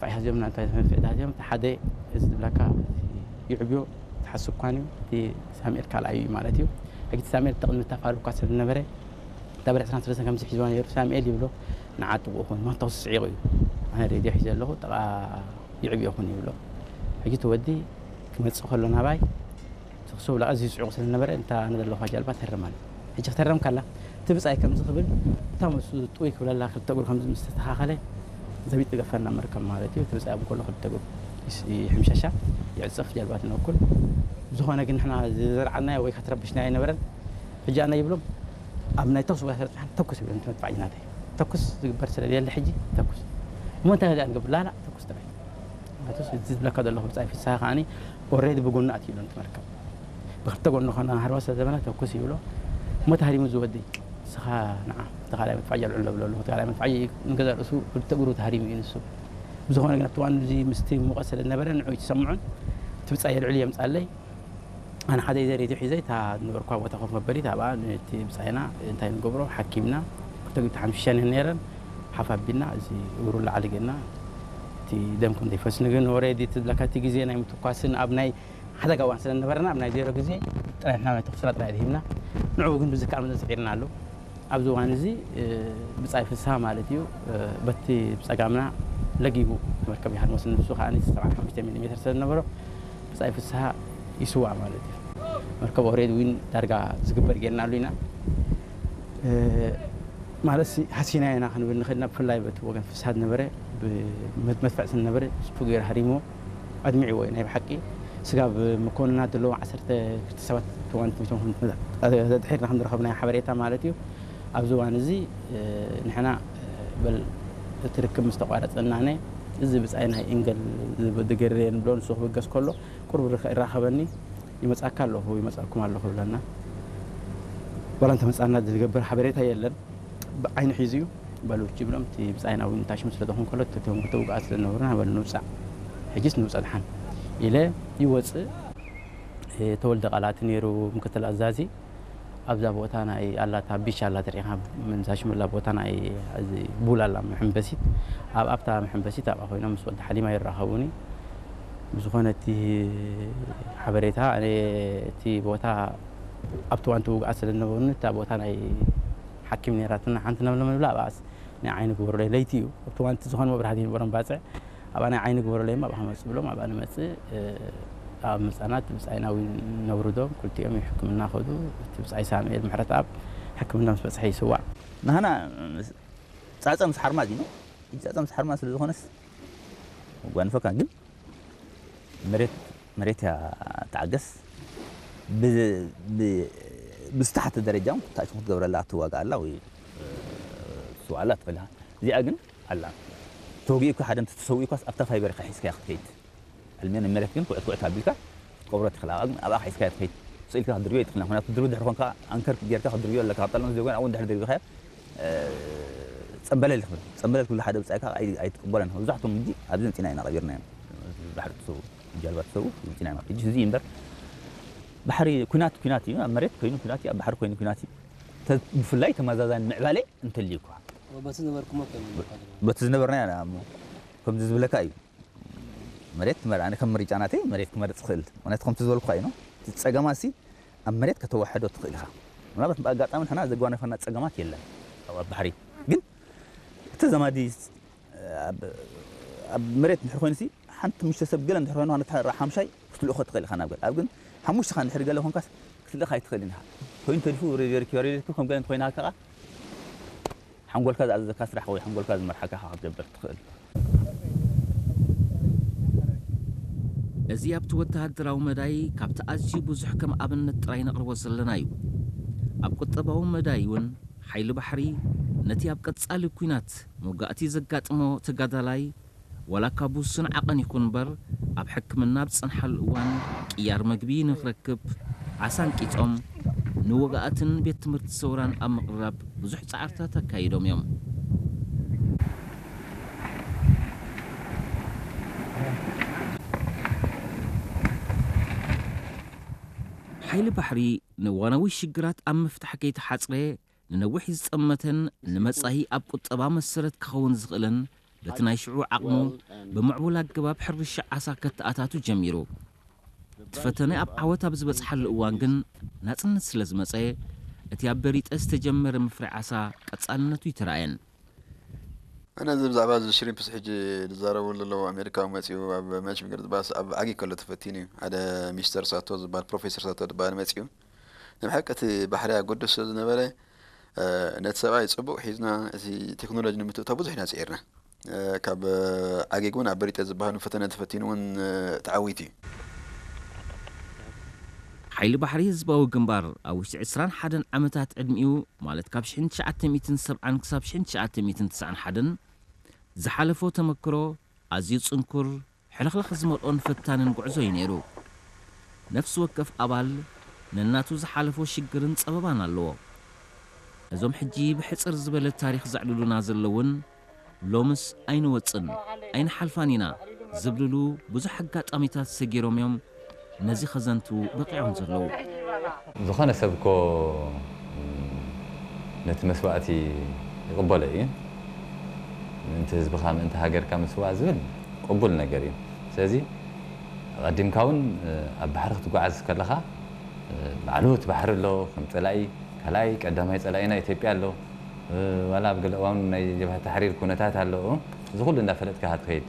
ፋሕ ዚኦም ናንታ ፋሕ ዚኦም ሓደ እዚ ዝብለካ ይዕብዮ ትሓስብ ኳን እዩ። እቲ ሳሙኤል ካልኣይ እዩ ማለት እዩ። ሕጂ እቲ ሳሙኤል ተቕድሚ ተፋሉ እኳ ስለ ዝነበረ እታ ብር ዕስራን ሰለስተን ከምዚ ሒዝዋ ነይሩ። ሳሙኤል ይብሎ ንዓ ጥቕኡ ኹን ማንታ ክስስዒቑ እዩ። ኣነ ሬድዮ ሒዘ ኣለኹ ጥቓ ይዕብዮ ኹን ይብሎ። ሕጂ እቲ ወዲ ክመጽእ ከሎ ናባይ ስኽስብ ላ እዚ ዝስዕቑ ስለ ዝነበረ እንታ ንዘለኹ ጃልባ ተርማል። ሕጂ ክተረም ካላ እቲ ብጻይ ከምዚ ክብል እታ ምስ ጥውይ ክብለላ ክልተ እግሩ ከምዚ ምስ ተስተኻኸለ ዘቢጥ ገፈና መርከብ ማለት እዩ። እቲ ብጻይ ኣብ ከሎ ክልተ እግሩ ይስ- ይሕምሸሻ ይዕጽፍ ጃልባ ትነኩል። ዝኾነ ግን ንሕና ዝዘርዓናዮ ወይ ከትረብሽና ኣይነበረን። ሕጂ ኣነ ይብሎም ኣብ ናይ ተኩስ ቦታ ስለ ተኩስ ይብሎም እቲ መጥፋዕጂ ናተይ ተኩስ ዝግበር ስለ የለ ሕጂ ተኩስ እሞ እንታይ ዚኣ ንገብር ላላ ተኩስ ጥራይ። ማለትስ እቲ ዝብለካ ዘለኹ ብጻይ ፍስሃ ከዓኒ ኦሬዲ ብጎኑ ኣትዩ ኣሎ ነቲ መርከብ። ብክልተ ጎኑ ኾና ሃርባ ስለ ዘበለ ተኩስ ይብሎ። እሞ ተሃሪሙ ዝወዲ ንስኻ ንዓ እቲ ካልኣይ መጥፋዕጂ ኣልዕሎ ብሎ ኣለኹ። እቲ ካልኣይ መጥፋዕጂ ንገዛ ርእሱ ክልተ እግሩ ተሃሪሙ እዩ ንሱ። ብዝኾነ ግን ኣብቲ እዋን እዚ ምስቲ ሙቐት ስለ ዝነበረ ንዑ ይትሰምዑን እቲ ብጻይ የልዕሉ የምጻለይ። ኣነ ሓደ ዘሬት ሒዘ እታ ዝነበርኳ ቦታ ኮፍ መበሊት ኣብኣ ነቲ ብጻይና እንታይ ንገብሮ ሓኪምና ክልተ ግዜ ሓምሽሻን ነይረን ሓፍ ኣቢልና እዚ እግሩ ላዕሊ ጌርና እቲ ደም ከም ዘይፈስን ግን ኦሬዲ ትብለካ እቲ ግዜ ናይ ምትኳስን ኣብ ናይ ሓደጋ እዋን ስለ ዝነበረና ኣብ ናይ ዜሮ ግዜ ጥራይ ንሕና ናይ ተኹስና ጥራይ ሂብና ንዕኡ ግን ብዝከኣል መጠን ስዒርና ኣሎ። ኣብዚ እዋን እዚ ብጻይ ፍስሃ ማለት እዩ በቲ ብጸጋምና ለጊቡ መርከብ ይሃድመስ ንሱ ከዓ ሰብዓን ሓሙሽተ ሚሊ ሜትር ስለ ዝነበሮ ብጻይ ፍስሃ ይስዋእ ማለት እዩ። መርከብ ኦሬድ ዊን ዳርጋ ዝግበር ጌርናሉ ኢና። ማለት ሃሲና ኢና ክንብል ንኽእል ኢና። ብፍላይ በቲ ወገን ፍስሃ ዝነበረ መድፍዕ ስለ ዝነበረ ስቱ ገይሩ ሃሪሞ ኣድሚዕዎ እዩ ናይ ብሓቂ። ስጋብ መኮንናት ዘለዎም ዓሰርተ ክልተ ሰባት ተዋንቲ ሚቶም ዘድሒርና ከም ዝረኸብናዮ ሓበሬታ ማለት እዩ። ኣብዚ እዋን እዚ ንሕና በል እቲ ርክብ ምስ ተቋረጸናነ እዚ ብጻይ ናይ ኢንገል ዝገርየ ንብሎ ንሱ ክብገስ ከሎ ቁርብ ይራኸበኒ ይመጻካ ኣለኹ ይመጻኩም ኣለኹ ይብለና። ዋላ እንተመጻና ዝገብር ሓበሬታ የለን። ብዓይኒ ሒዙ እዩ በሉ ይብሎም። እቲ ብጻይና እውን ታሽሙ ስለ ዝኾን ከሎ እቶም ክልተ ውግኣት ስለ ዝነበሩና በሉ ንውጻእ ሕጂስ ንውጻእ ድሓን ኢለ ይወጽእ። ተወልደ ቃላት ነይሩ ምክትል ኣዛዚ ኣብዛ ቦታ ናይ ኣላታ ቢች ኣላ ትሪኢኻ ምንዛሽምላ ቦታ ናይ እዚ ቡል ኣላ መሐንበሲት ኣብ ኣብታ መሐንበሲት ኣብኣ ኮይኖም ምስ ወዲ ሓሊማ ይራኸቡኒ። ብዝኾነ እቲ ሓበሬታ ኣነ እቲ ቦታ ኣብቲ ዋንቲ ውግኣት ስለ ዝነበሩኒ እታ ቦታ ናይ ሓኪም ነይራትና ሓንቲ ነብለ ምብላ ኣብኣስ ናይ ዓይኒ ግበሩለይ ለይቲ እዩ ኣብቲ ዋንቲ ዝኾነ መብራህቲ ይነበሮም ባፅዕ ኣብኣ ናይ ዓይኒ ግበሩለይ እሞ ኣብኣ ክመፅእ ብሎም ኣብኣ ንመፅእ ኣብ ምፃናት ብፃይናዊ ነብርዶም ክልቲኦም ሕክምና ከዱ እቲ ብፃይ ሳሙኤል ምሕረት ኣብ ሕክምና ምስ በፅሐ ይስዋዕ ናህና ፃፀ ምስ ሓርማዝ እዩ ፃፀ ምስ ሓርማዝ ስለ ዝኾነስ ጓንፈካ ግን መሬት መሬት እያ ተዓገስ ብዝተሓተ ደረጃ እውን ታሽሙ ክትገብረላ ክትዋጋ ኣላ ወይ ትስዋላ ትኽእል እዚኣ ግን ኣላ ተወጊኡ እኳ ሓደ ተሰውኡ እኳስ ኣብታ ፋይበር ኢኻ ሒዝካያ ክትከይድ ሕልሜን መሬት ግን ኩዕት ኩዕት ኣቢልካ ክትቆብሮ ትኽእል ኣብኣ ግን ኣብኣ ሒዝካያ ትኸይድ ስኢልካ ክትድርብዮ ይትኽእል ምክንያቱ ክትድርቢ ድሕሪ ኮንካ ኣንከር ጌርካ ክትድርብዮ ኣለካ ካብ ጠለመ ዘጎን ኣብኡ ድሕሪ ድርቢኻያ ጸምበለል ትብል ጸምበለል ክብሉ ሓደ ብጻይካ ኣይትቅበለን መብዛሕቶም ሕጂ ኣብዚ ምጺና ኢና ቀቢርናዮም ባሕሪ ትሰው ጀልባ ትሰው ምጺና ኢና ሕጂ እዚ እምበር ባሕሪ ኩናት ኩናት እዩ ኣብ መሬት ኮይኑ ኩናት እዩ ኣብ ባሕሪ ኮይኑ ኩናት እዩ ብፍላይ ተመዛዛኒ ምዕባለ እንተልዩ እኳ በቲ ዝነበርኩሞ በቲ ዝነበርና ኢና ከምዚ ዝብለካ እዩ መሬት ትመርእ ኣነ ከም ምርጫ ናተይ መሬት ክመርጽ ክእል ምክንያቱ ከምቲ ዝበልኩካ እዩ እቲ ጸገማ ሲ ኣብ መሬት ከተዋሕዶ ትኽእል ኢኻ። ምናልባት ብኣጋጣሚ ንሕና ዘጓነፈና ጸገማት የለን። ኣብ ባሕሪ ግን እቲ ዘማዲ ኣብ መሬት እንድሕር ኮይኑሲ ሓንቲ ምሽተ ሰብ ገለ እንድሕር ኮይኑ ነታ ሓምሻይ ክትልእኾ ትኽእል ኢኻ ናብ ገለ ኣብ ግን ሓሙሽተኻ እንድሕር ገለ ኮንካስ ክትልእኻ ኣይትኽእልን ኢኻ። ኮይኑ ተሪፉ ሬድዮ ሪኪ ሬድዮ ከም ገለ እንተኮይና ከኣ ሓንጎልካ ዝኣዘዘካ ስራሕ ወይ ሓንጎልካ ዝመርሓካ ኢኻ ክትገብር ትኽእል። እዚ ኣብቲ ወተሃደራዊ መዳይ ካብቲ ኣዝዩ ብዙሕ ከም ኣብነት ጥራይ ነቕርቦ ዘለና እዩ። ኣብ ቁጠባዊ መዳይ እውን ሓይሊ ባሕሪ ነቲ ኣብ ቀጻሊ ኲናት መውጋእቲ ዘጋጥሞ ተጋዳላይ ዋላ እኳ ብውሱን ዓቐን ይኹን እምበር ኣብ ሕክምና ኣብ ዝጸንሓሉ እዋን ቅያር መግቢ ንኽረክብ ዓሳ ኣንቂጾም ንወጋእትን ቤት ትምህርቲ ሰውራን ኣብ ምቕራብ ብዙሕ ጻዕርታት ኣካይዶም እዮም። ሓይሊ ባሕሪ ንእዋናዊ ሽግራት ኣብ ምፍታሕ ከይተሓጽረ ንነዊሕ ዝጸመተን ንመጻኢ ኣብ ቁጠባ መሰረት ክኸውን ዝኽእልን በቲ ናይ ሽዑ ዓቕሙ ብምዕቡል ኣገባብ ሕርሻ ዓሳ ከተኣታቱ ጀሚሩ። እቲ ፈተነ ኣብ ዓወት ኣብ ዝበጽሓሉ እዋን ግን ናጽነት ስለ ዝመጸ፣ እቲ ኣብ በሪጠ ዝተጀመረ ምፍራይ ዓሳ ቀጻልነቱ ይተራእየን። ኣነ እዚ ብዛዕባ እዚ ሽሪምፕስ ሕጂ ዝዛረቡ ዘለዉ ኣሜሪካዊ መጺኡ ኣብ መች ምገርጽ ባስ ኣብ ዓጊ ከሎ ተፈቲኑ እዩ። ሓደ ሚስተር ሳቶ ዝበሃል ፕሮፌሰር ሳቶ ዝበሃል መጺኡ ንብሓቂ እቲ ባሕሪ ኣጎድስ ስለ ዝነበረ ነቲ ሰብኣይ ጽቡቕ ሒዝና እቲ ቴክኖሎጂ ንምትእቶ ብዙሕ ኢና ጽዒርና። ካብ ዓጊግ እውን ኣብ በሪጠ ዝበሃሉ ፈተነ ተፈቲኑ እውን ተዓዊቱ እዩ። ሓይሊ ባሕሪ ህዝባዊ ግንባር ኣብ ውሽጢ ዕስራን ሓደን ዓመታት ዕድሚኡ፣ ማለት ካብ ሽሕን ትሽዓተ ሚእትን ሰብዓን ክሳብ ሽሕን ትሽዓተ ሚእትን ትስዓን ሓደን ዝሓለፎ ተመክሮ ኣዝዩ ጽንኩር፣ ሕልኽላኽ ዝመልኦን ፈታንን ጉዕዞ እዩ ነይሩ። ነፍሲ ወከፍ ኣባል ነናቱ ዝሓለፎ ሽግርን ጸበባን ኣለዎ። እዞም ሕጂ ብሕጽር ዝበለ ታሪኽ ዘዕልሉና ዘለውን ሎምስ ኣይንወጽን ኣይንሓልፋን ኢና ዝብልሉ ብዙሕ ኣጋጣሚታት ሰጊሮም እዮም ነዚ ከዘንትዉ በቒዖም ዘለዉ። ዝኾነ ሰብ እኮ ነቲ መስዋእቲ ይቕበሎ እዩ። ምእንቲ ህዝብኻ ምእንቲ ሃገርካ ምስዋእ ዝብል ቅቡል ነገር እዩ። ስለዚ ኣቐዲምካ እውን ኣብ ባሕሪ ክትጓዓዝ ከለኻ ባዕሉ እቲ ባሕሪ ኣሎ፣ ከም ጸላኢ ካልኣይ ቀዳማይ ጸላኢና ኢትዮጵያ ኣሎ። ዋላ ኣብ ገለ እዋን ናይ ጀብሃ ታሕሪር ኩነታት ኣሎ። እዚ ኩሉ እንዳፈለጥካ ኢኻ ትኸይድ።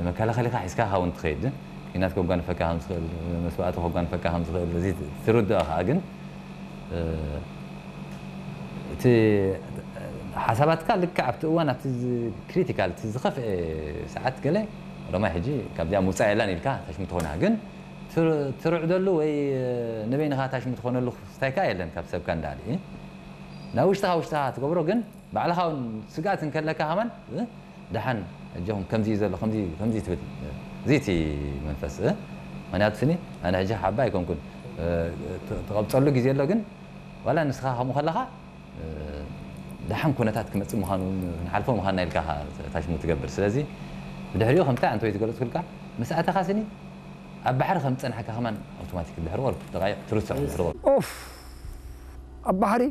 መከላኸሊኻ ሒዝካ ኢኻ እውን ትኸይድ። ኲናት ከጓንፈካ ከም ዝኽእል፣ መስዋእቲ ከጓንፈካ ከም ዝኽእል እዚ ትርድኦ ከኣ ግን እቲ ሓሳባትካ ልክዕ ኣብቲ እዋን ኣብቲ ክሪቲካል እቲ ዝኸፍአ ሰዓት ገለ ሮማይ ሕጂ ካብዚኣ ምውፃእ የላን ኢልካ ታሽሙ ትኾና ግን ትርዕደሉ ወይ ንበይንኻ ታሽሙ ትኾነሉ ስታይካ የለን ካብ ሰብካ እንዳሊ ናብ ውሽጥኻ ውሽጥኻ ትገብሮ ግን ባዕልኻ እውን ስግኣት እንከለካ ከማን ደሓን እጆኹም ከምዚ እዩ ዘሎ ከምዚ ከምዚ ትብል እዚ እቲ መንፈስ ምክንያቱ ስኒ ኣነ ሕጂ ሓባ ኣይኮንኩን ትቐብፀሉ ግዜ ኣሎ ግን ዋላ ንስኻ ከምኡ ከለኻ ደሓን ኩነታት ክመፅእ ምዃኑ ክንሓልፎ ምዃንና ኢልካ ታሽሙ ትገብር ስለዚ ብድሕሪኡ ከምታ ኣንተ ወይ ትገለፅኩልካ ምስ ኣተኻ ስኒ ኣብ ባሕሪ ከም ዝፀናሕካ ከማን ኣውቶማቲክ ድሕሪ ወር ደቃይቕ ትርስዖ ድሕሪ ወር ኦፍ ኣብ ባሕሪ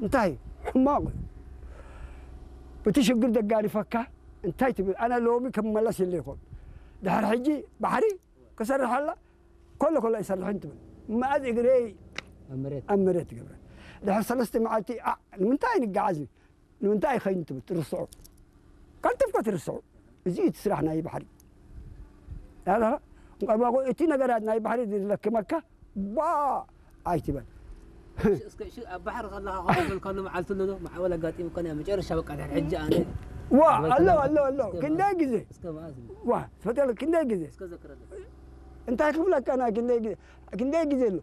እንታይ ሕማቕ እቲ ሽግር ደጋሪፈካ እንታይ ትብል ኣነ ሎሚ ክመለስ የለ ይኾን ድሕሪ ሕጂ ባሕሪ ክሰርሕ ኣላ ከሎ ከሎ ኣይሰርሕን ትብል መኣዝ እግረይ ኣብ መሬት ትገብረ ድሕሪ ሰለስተ መዓልቲ ንምንታይ ንገዓዝ ንምንታይ ኣይኸይን ትብል ትርስዖ ቀልጥፍካ ትርስዖ እዚ እቲ ስራሕ ናይ ባሕሪ እቲ ነገራት ናይ ባሕሪ ዝለክመካ ባ ኣይትበል ኣብ ባሕሪ ከለኻ ከሎ መዓልቲ ኣሎ ማዕበል ኣጋጢሙካ ናይ መጨረሻ በቃ ድሕሪ ሕጂ ኣነ ዋ ኣሎ ኣሎ ኣሎ ክንደይ ግዜ ዋ ትፈጠለ ክንደይ ግዜ እንታይ ክብለካ ናይ ክንደይ ግዜ ክንደይ ግዜ ኣሎ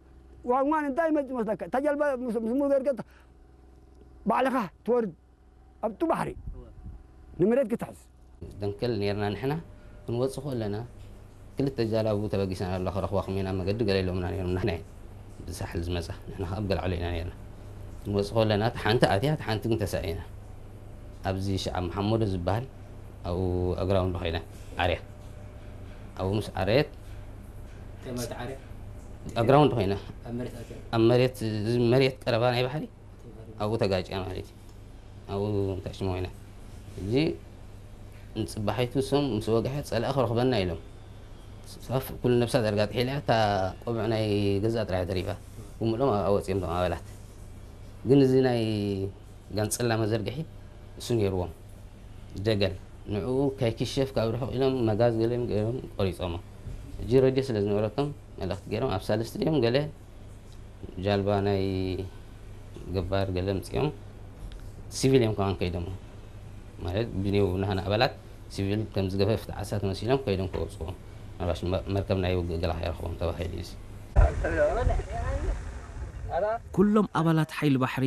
ዋንዋን እንታይ መጽ መስለካ ተጀልባ ምስ ሙዘርገት ባዕልኻ ትወርድ ኣብቱ ባሕሪ ንምረት ክትሕዝ ደንከል ኔርና ንሕና ክንወጽእ ከለና ክልተ ጃላቡ ተበጊሰን ኣሎ ክረኽባ ከመይና መገዲ ገለ ኢሎምና ነይሮም ንሕና ብሳሕል ዝመጻ ንሕና ከኣ ብገልዓሎ ኢና ነይርና ክንወጽእ ከለና እቲ ሓንቲ ኣትያ እቲ ሓንቲ ግን ተሳኢና ኣብዚ ሽዓ መሓመዶ ዝበሃል ኣብኡ ኣግራውንድ ኮይና ዓርያ ኣብኡ ምስ ዓረየት ኣግራውንድ ኮይና ኣብ መሬት ቀረባ ናይ ባሕሪ ኣብኡ ተጋጭያ ማለት እዩ ኣብኡ ታሽሞ ኮይና እዚ ንፅባሒቱ እሶም ምስ ወግሐ ፀላኢ ክረኽበና ኢሎም ሳፍ ኩሉ ነብሳ ዳርጋ ጥሒላ እያ እታ ቆብዕ ናይ ገዛ ጥራሕ ተሪፋ ብምልኦም ኣብኣ ወፂኦም ቶም ኣባላት ግን እዚ ናይ ጋንፅላ መዘርግሒ እሱ ነይርዎም ደገል ንዕኡ ከይክሸፍ ካብ ርሑቕ ኢሎም መጋዝ ገሊኦም ገይሮም ቆሪፆሞ ሕጂ ረድዮ ስለ ዝነበረቶም መልእኽቲ ገይሮም ኣብ ሳልስቲ ድዮም ገለ ጃልባ ናይ ገባር ገለ ምፅኦም ሲቪል እዮም ከማን ከይዶም ማለት ብኔው ናህና ኣባላት ሲቪል ከም ዝገፈፍቲ ዓሳ ተመሲሎም ከይዶም ከወፅዎም ምናልባሽ መርከብ ናይ ውግእ ገላ ከይረኽቦም ተባሂሉ እዩ ኩሎም ኣባላት ሓይሊ ባሕሪ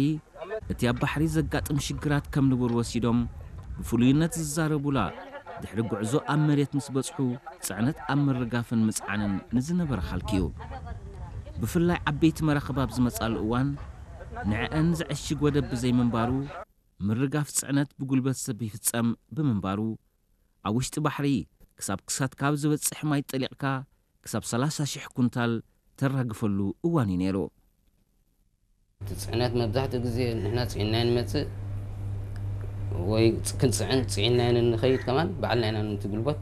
እቲ ኣብ ባሕሪ ዘጋጥም ሽግራት ከም ንቡር ወሲዶም ብፍሉይነት ዝዛረቡላ ድሕሪ ጉዕዞ ኣብ መሬት ምስ በጽሑ ጽዕነት ኣብ ምርጋፍን ምጽዓንን ንዝነበረ ሃልኪ እዩ። ብፍላይ ዓበይቲ መራኽብ ኣብ ዝመጻሉ እዋን ንዕአን ዝዕሽግ ወደብ ብዘይምንባሩ ምርጋፍ ጽዕነት ብጉልበት ሰብ ይፍጸም ብምንባሩ ኣብ ውሽጢ ባሕሪ ክሳብ ክሳትካ ኣብ ዝበጽሕ ማይ ጠሊቕካ ክሳብ ሰላሳ ሽሕ ኩንታል ተራግፈሉ እዋን እዩ ነይሩ። እቲ ፅዕነት መብዛሕትኡ ግዜ ንሕና ፅዒንና ንመፅእ ወይ ክንፅዕን ፅዒናዮ ንኸይድ ከማን ባዕልና ኢና ነቲ ጉልበት